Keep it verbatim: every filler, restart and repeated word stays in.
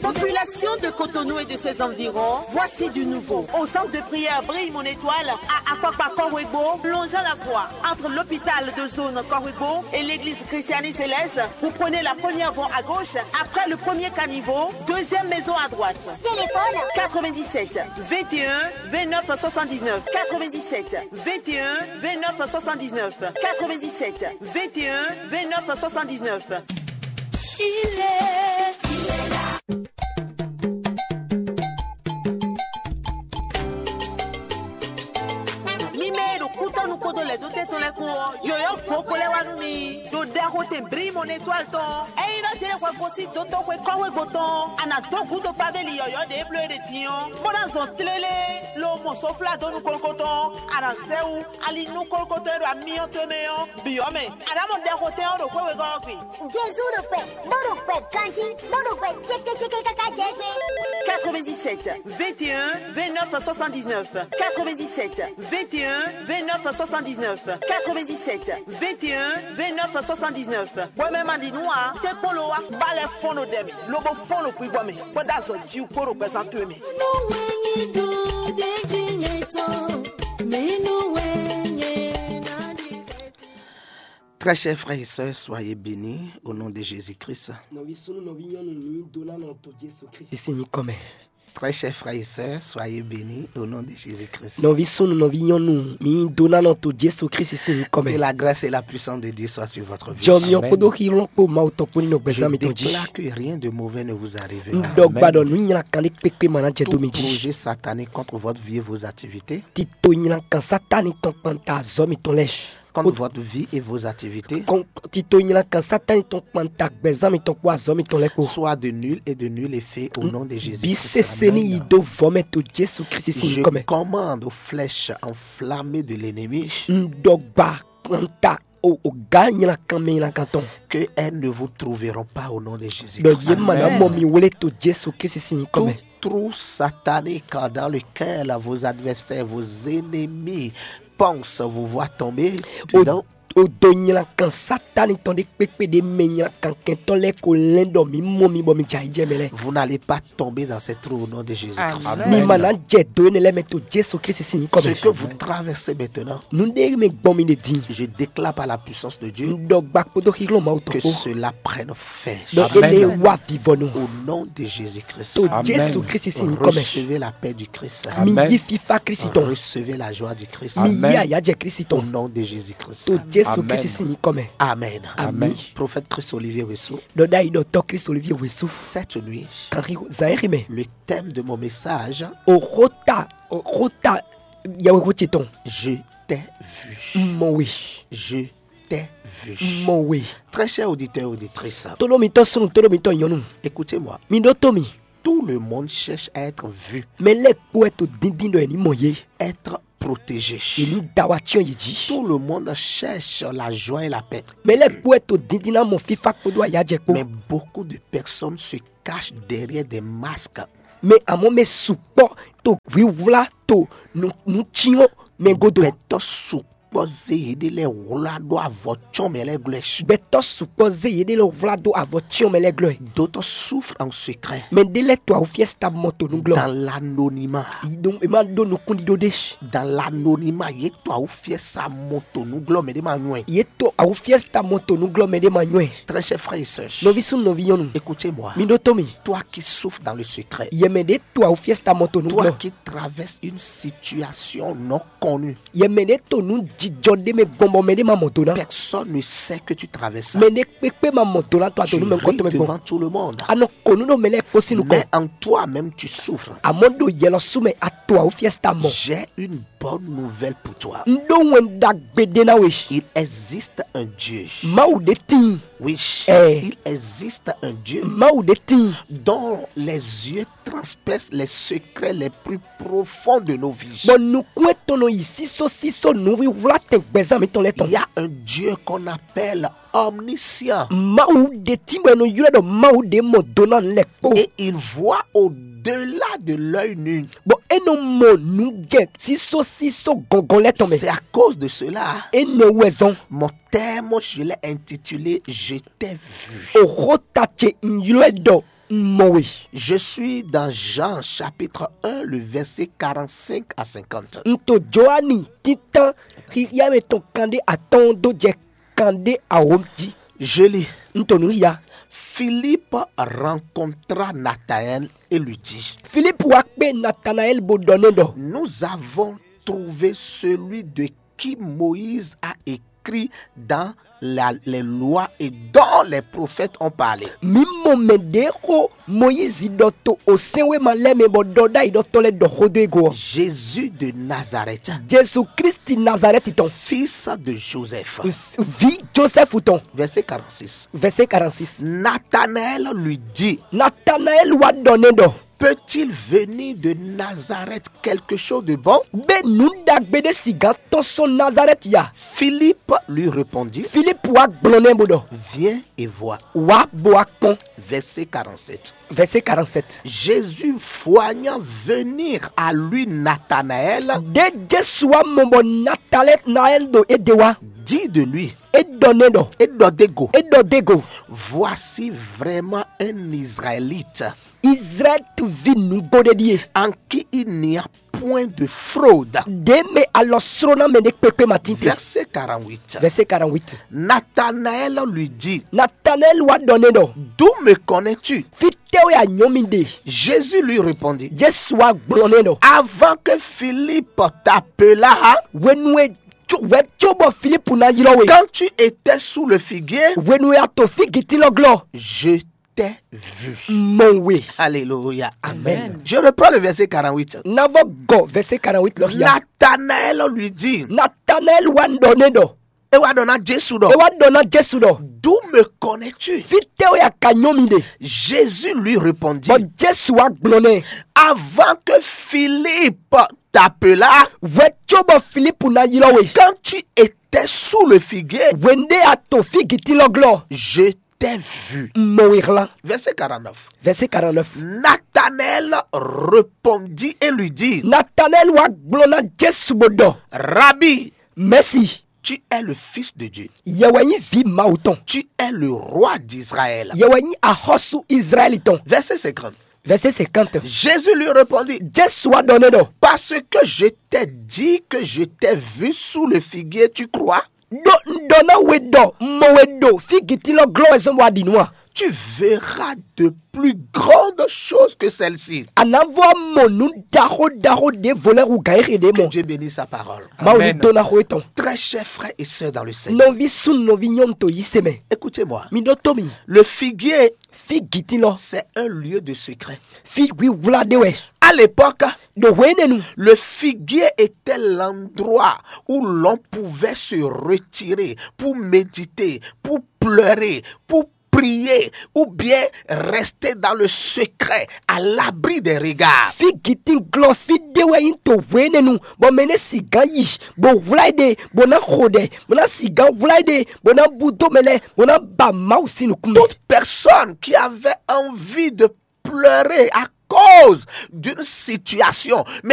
Population de Cotonou et de ses environs, voici du nouveau. Au centre de prière Brille Mon Étoile, à Akwakpa Corwego, longeant la voie entre l'hôpital de zone Corwego et l'église Christiani Céleste, vous prenez la première voie à gauche, après le premier caniveau, deuxième maison à droite. Téléphone quatre-vingt-dix-sept vingt et un vingt-neuf soixante-dix-neuf, quatre-vingt-dix-sept vingt et un vingt-neuf soixante-dix-neuf, quatre-vingt-dix-sept vingt et un vingt-neuf soixante-dix-neuf. Il est, il est là. Mi mɛ e ɖo kútɔ́nú kpódó lɛ̌dótɛ́ tɔn lɛ́ɛ kpó ɔ́, yɔ̌yɔ́ vo ko lɛ́ wá nú mi ɖo ɖɛxotɛn Brímɔn Étoile tɔn. Ényí nɔ jlé hwɛ gosín dótóxwé kɔ́wégbo tɔn, a nǎ dó gǔdo kpaveli yɔ̌yɔ́ ɖě bló e ɖe din ɔ́, bó ná zɔn tlélé, lo mɔ soflá dó nukɔn tɔn, a nǎ zɛ wú ali nukɔn tɔn e ɖo amyɔ towe mɛ ɔ́ bǐ ɔ́ mɛ. A nǎ mɔ ɖɛxotɛn ɔ́ ɖo xwé wegɔ́ ɔ́ gbe. Jezu ɖo kpɛ, bó ɖo kpɛ ganjí, bó ɖo kpɛ cékécéké káká jɛ fí. quatre-vingt-dix-sept vingt et un vingt-neuf soixante-dix-neuf, quatre-vingt-dix-sept vingt et un vingt-neuf soixante-dix-neuf, quatre-vingt-dix-sept vingt et un vingt-neuf soixante-dix-neuf. Bɔ mɛ ma ɖi nǔ ǎ, tɛ́nkpɔ́n ló wá, bá lɛ́ fɔ́n ɖo ɖɛ mɛ, lobo fɔ́n ɖo kpígbɔ mɛ, kpódó azɔ̌ jí kpó ɖo gbɛzán towe mɛ. Très chers frères et sœurs, soyez bénis au nom de Jésus-Christ. Nɔví súnnu, nɔví nyɔnu, mǐ dó ná nɔ to Jesu Kristi sín nyǐkɔ mɛ. Très chers frères et sœurs, soyez bénis au nom de Jésus-Christ. Nɔví súnnu, nɔví nyɔnu, mǐ dó ná nɔ to Jesu Kristi sín nyǐkɔ mɛ. Que la grâce et la puissance de Dieu soit sur votre vie. Jɔmyɔ kpódó xíhlɔ́n kpó Mawu tɔn kpó ní nɔ gbɛzán mitɔn jí. Je déclare que rien de mauvais ne vous arrivera. Un ɖɔ gba ɖɔ nǔ nylakan ɖé kpékpé ma ná jɛ dó mi jí. Tout projet satanique contre votre vie et vos activités. Tito nylakan Satani tɔn kpanta azɔ̌ mitɔn lɛ́ɛ. Contre votre vie et vos activités. Tito nylakan Satani tɔn kpanta gbɛzán mitɔn kpó azɔ̌ mitɔn lɛ́ɛ kpó. Soit de nul et de nul effet au nom de Jésus. Bí sese ní yi dó vɔ̌ mɛ to Jesu Kristi sín nyǐkɔ mɛ. Je commande aux flèches enflammées de l'ennemi. Un ɖɔ gba kpanta o o gǎ nylakan mɛ nylakan tɔn. Que elles ne vous trouveront pas au nom de Jésus. Ɖɔ yě ma ná mɔ mi wlé to Jesu Kristi sín nyǐkɔ mɛ. Tout trou satanique dans lequel vos adversaires, vos ennemis pensent vous voir tomber dedans. O do nylakan Satani tɔn ɖé kpékpé ɖé mɛ nylakan kɛntɔ́ lɛ́ɛ ko lɛ́n ɖɔ mǐ mɔ mi bɔ mi jɛ ayǐjɛ mɛ lɛ́ɛ. Vous n'allez pas tomber dans ces trous au nom de Jésus-Christ. Mi ma ná jɛ do énɛ́ lɛ́ɛ mɛ to Jesu Kristi sín nyǐkɔ mɛ. Ce que vous traversez maintenant, nǔ ɖé mɛ gbɔn mi ɖe din. Je déclare par la puissance de Dieu. Un ɖɔ gba kpódó xíhlɔ́n Mawu tɔn kpó. Que cela prenne fin. Ɖɔ énɛ́ wá vivɔnu. Au nom de Jésus-Christ. To Jesu Kristi sín nyǐkɔ mɛ. Recevez la paix du Christ. Mi yí fífá Kristi tɔn. Recevez la joie du Christ. Mi yí ayǎjɛ Kristi tɔn. Au nom de Jésus-Christ. To Jesu Kristi sín nyǐkɔ mɛ. Amen. Ami. Prophète Christ Olivier Wessou. Ɖɔ ɖ'ayǐ ɖɔ tɔ́ Kristi Olivier Wessou. Cette nuit, kan xixo zan e xi mɛ. Le thème de mon message, o xota o xota yɛwexo ce tɔn. Je t'ai vu. Mɔ we. Je t'ai vu. Mɔ we. Très chers auditeurs et auditrices, tolómitɔ́ súnnu, tolómitɔ́ nyɔnu, écoutez-moi. Mi ɖótó mi. Tout le monde cherche à être vu. Mɛ lɛ́ɛ kpó wɛ to díndín ɖɔ è ní mɔ yé. Être protégé. È ní da wa cyɔ́n yě jí. Tout le monde cherche la joie et la paix. Mɛ lɛ́ɛ kpó wɛ to díndín ná mɔ fífá kpódó ayájɛ kpó. Mais beaucoup de personnes se cachent derrière des masques. Mɛ amɔ̌ mɛ sukpɔ́ to hwíhwlá to nǔ nǔ cyɔ́n mɛ gúdo. Gbɛtɔ́ sukpɔ́ zé yěɖée lɛ́ɛ wlá ɖó avɔ cyɔ́n mɛ lɛ́ɛ glɔ́. Gbɛtɔ́ sukpɔ́ zé yěɖée lɛ́ɛ wlá ɖó avɔ cyɔ́n mɛ lɛ́ɛ glɔ́. D'autres souffrent en secret. Mɛ ɖé lɛ́ɛ to awúfiɛ́ ta mɔ to nú glɔ́. Dans l'anonymat. È má ɖó nukúnɖíɖó ɖé. Dans l'anonymat, yě to awúfiɛ́ sa mɔ to nú glɔ́ mɛ ɖé ma nywɛ́. Yě to awúfiɛ́ ta mɔ to nú glɔ́ mɛ ɖé ma nywɛ́. Très chers frères et sœurs, nɔví súnnu nɔví nyɔ́nu, écoutez-moi. Mi ɖótó mi. Toi qui souffres dans le secret. Yɛ mɛ ɖé to awúfiɛ́ ta mɔ to nú glɔ́. Toi qui traverses une situation non connue. Yɛ mɛ ɖé to nú jijɔ ɖé mɛ gbɔn bɔ mɛ ɖé ma mɔ do ná. Personne ne sait que tu traverses ça. Mɛ ɖé kpékpé ma mɔ do ná to ato nú mɛ nukɔn tɔn mɛ gbɔn. Tu ris devant tout le monde. A nɔ ko nú ɖo mɛ lɛ́ɛ kpó sín nukɔn. Mais en toi-même tu souffres. Àmọ́ ɖo yɛ lɔ sú mɛ a to awúfiɛ́ ta mɔ. J'ai une bonne nouvelle pour toi. Un ɖó wɛn ɖagbe ɖé ná we. Il existe un Dieu. Mawu ɖé tíin. Oui. Eh. Il existe un Dieu. Mawu ɖé tíin. Dont les yeux transpercent les secrets les plus profonds de nos vies. Bɔ nukún etɔn nɔ yi sísó sísó nǔwiwlá tɛn gbɛzán mǐtɔn lɛ́ɛ tɔn. Il y a un Dieu qu'on appelle omniscient. Mawu ɖé tíin bɔ è nɔ ylɔ́ ɖɔ Mawu ɖé mɔ do ná nǔ lɛ́ɛ kpó. Et il voit au-delà de l'œil nu. Bɔ é nɔ mɔ nǔ jɛ sísó sísó gɔngɔn lɛ́ɛ tɔn mɛ. C'est à cause de cela. Énɛ́ wɛ zɔn. Mon thème, je l'ai intitulé Je t'ai vu. Òxó ta ce un ylɔ́ ɛ ɖɔ Un mɔ we. Je suis dans Jean chapitre un, le verset quarante-cinq à cinquante. Un to Joani títán xixia mɛ tɔn kanɖé atɔ́ɔ́n dó jɛ kanɖé awǒ jí. Je lis. Un to nǔ ya. Philippe rencontra Nathanaël et lui dit, Filipu wá kpé Natanaɛli bó ɖɔ nɛ ɖɔ: Nous avons trouvé celui de qui Moïse a écrit dans la, les lois et dont les prophètes ont parlé. Mǐ mɔ mɛ ɖě xó Mɔyízi ɖɔ to osɛ́nwéma lɛ́ɛ mɛ bɔ ɖɔ ɖ'ayǐ ɖɔ tɔn lɛ́ɛ ɖɔ xó dó e go ɔ́. Jésus de Nazareth, Jesu Kristi Nazarɛti tɔn, fils de Joseph, vi Josɛfu tɔn. Verset quarante-six. Vɛsɛ quarante-six. Nathanaël lui dit, Natanaɛli wá ɖɔ nɛ ɖɔ: Peut-il venir de Nazareth quelque chose de bon? Bɛ nǔ ɖagbe ɖé sigan tɔn sɔn Nazarɛti ya? Philippe lui répondit, Filipu wá gblɔ nɛ bó ɖɔ: Viens et vois. Wá bó wá kpɔ́n. Verset quarante-sept. Vɛsɛ quarante-sept. Jésus, voyant venir à lui Nathanaël, Ɖé Jesu wá mɔ bɔ Natanaɛli ɖo é ɖe wá, dit de lui, é ɖɔ nɛ ɖɔ, et d'Odego, é ɖɔ dé go: Voici vraiment un Israélite Izraɛli ví nǔgbó ɖé ɖíe, en qui il n'y a point de fraude. Ɖě mɛ alɔ sló ná mɛ ɖé kpékpé ma tínte. Verset quarante-huit. Vɛsɛ quarante-huit. Nathanaël lui dit, Natanaɛli wá ɖɔ nɛ ɖɔ: D'où me connais-tu? Fítɛ́ wɛ a nyɔ́ mi ɖe? Jésus lui répondit, Jesu wá gblɔ nɛ ɖɔ: Avant que Philippe t'appelât, Hwenu e wɛ có bɔ Filipu ná ylɔ́ we, quand tu étais sous le figuier, hwenu e a to fígitín lɔ glɔ́, je t'ai vu. Mɔ we. Alléluia. Amen. Je reprends le verset quarante-huit. Ná vɔ gɔ vɛsɛ quarante-huit lɔ xia. Nathanaël lui dit, Natanaɛli wá ɖɔ nɛ ɖɔ, e wá ɖɔ ná Jésus é ɖɔ, wá ɖɔ ná Jesu ɖɔ: D'où me connais-tu? Fítɛ́ wɛ a ka nyɔ́ mi ɖe? Jésus lui répondit, Bɔ Jesu wá gblɔ nɛ: Avant que Philippe t'appelât, Wɛ có bɔ Filipu ná ylɔ́ we, quand tu étais sous le figuier, hwenu ɖé a to fígitín lɔ glɔ́, je t'ai vu. Mɔ we hlán. Verset quarante-neuf. Vɛsɛ quarante-neuf. Nathanaël répondit et lui dit, Natanaɛli wá gblɔ ná Jesu bó ɖɔ: Rabbi, Mɛsi, tu es le Fils de Dieu. Yɛ wɛ nyí vǐ Mawu tɔn. Tu es le roi d'Israël. Yɛ wɛ nyí axɔ́sú Izlayɛ́li tɔn. Verset cinquante. Vɛsɛ cinquante. Jésus lui répondit, Jesu wá ɖɔ nɛ ɖɔ: Parce que je t'ai dit que je t'ai vu sous le figuier, tu crois? Ɖó un ɖɔ ná we ɖɔ un mɔ we ɖo fígitín lɔ glɔ́ wɛ zɔ́n bɔ a ɖi nǔ a? Tu verras de plus grandes choses que celles-ci. A nǎ vɔ mɔ nǔ ɖaxó ɖaxó ɖěvo lɛ́ɛ hu gǎn e xe ɖě Que mɔ. Dieu bénisse sa parole. Mawu ní Amen. tó ná xó étɔn. Très chers frères et sœurs dans le Seigneur, Nɔví súnnu nɔví nyɔ́nu to yí se mɛ. Écoutez-moi. Mi ɖó tó mi. Le figuier, Fígitín lɔ, c'est un lieu de secret. fí hwíhwlá ɖé wɛ. À l'époque, Ɖo hwénɛnu, le figuier était l'endroit où l'on pouvait se retirer pour méditer, pour pleurer, pour prier, ou bien rester dans le secret, à l'abri des regards. fígitín glɔ́ fí ɖé wɛ nyí to hwénɛnu, bɔ mɛ nɛ́ sigán yi, bó hwlá ɖe, bó ná xo ɖɛ, bó ná sigán hwlá ɖe, bó ná búdó mɛ lɛ́ɛ, bó ná ba Mawu sín nukún mɛ. Toute personne qui avait envie de pleurer à cause d'une situation, mais